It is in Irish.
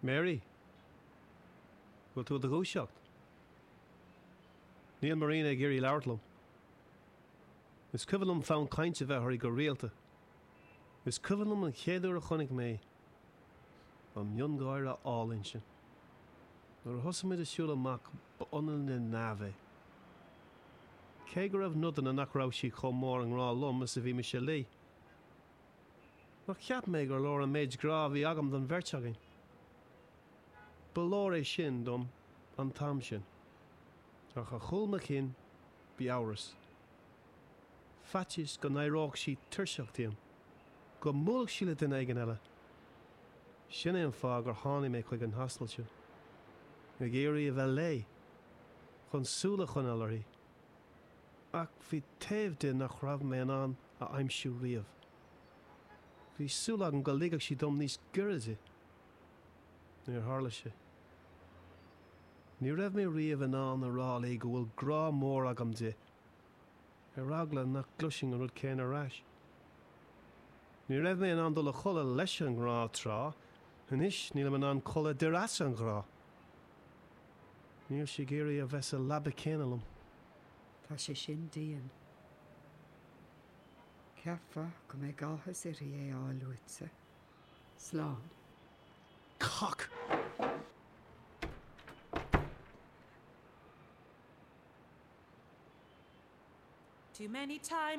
Mary, Bhfuil tú i do dhúiseacht? Níl Marina ag iarraidh labhairt liom. Is cuimhin liom fonn cainte a bheith uirthi go rialta. Is cuimhin liom an chéad uair a chonaic mé í, an miongháire álainn sin. Nuair a thosaigh muid ag siúl amach ba ionann le neamh é. Cé go raibh nodanna nach raibh sí chomh mór i ngrá liom is a bhí mise léi. Ach cheap mé gur leor an méid grá a bhí agam don bheirt againn. Ba leor é sin dom an t-am sin. Ach ar chúl mo chinn bhí amhras. Faitíos go n-éireodh sí tuirseach díom. Go mbuailfeadh sí le duine éigin eile. Sin é an fáth gur tháinig mé chuig an hostel seo. Ag iarraidh a bheith léi. Chun súil a choinneáil uirthi. Ach bhí taobh di nach raibh mé in ann a aimsiú riamh. Bhí súil agam go ligfeadh sí dom níos giorra di. Níor tharla sé. Ní raibh mé riamh in ann a rá léi go bhfuil grá mór agam di, ar eagla nach gcloisfinn an rud céanna ar ais. Ní raibh mé in ann dul a chodladh leis an ngrá tráth, anois nílim in ann codladh d'uireasa an ghrá. Níl sí ag iarraidh a bheith sa leaba céanna liom. Tá sé sin dian. Cheapfá go mbeadh áthas uirthi é a fháil uaitse. Slán. Cock! Too many times.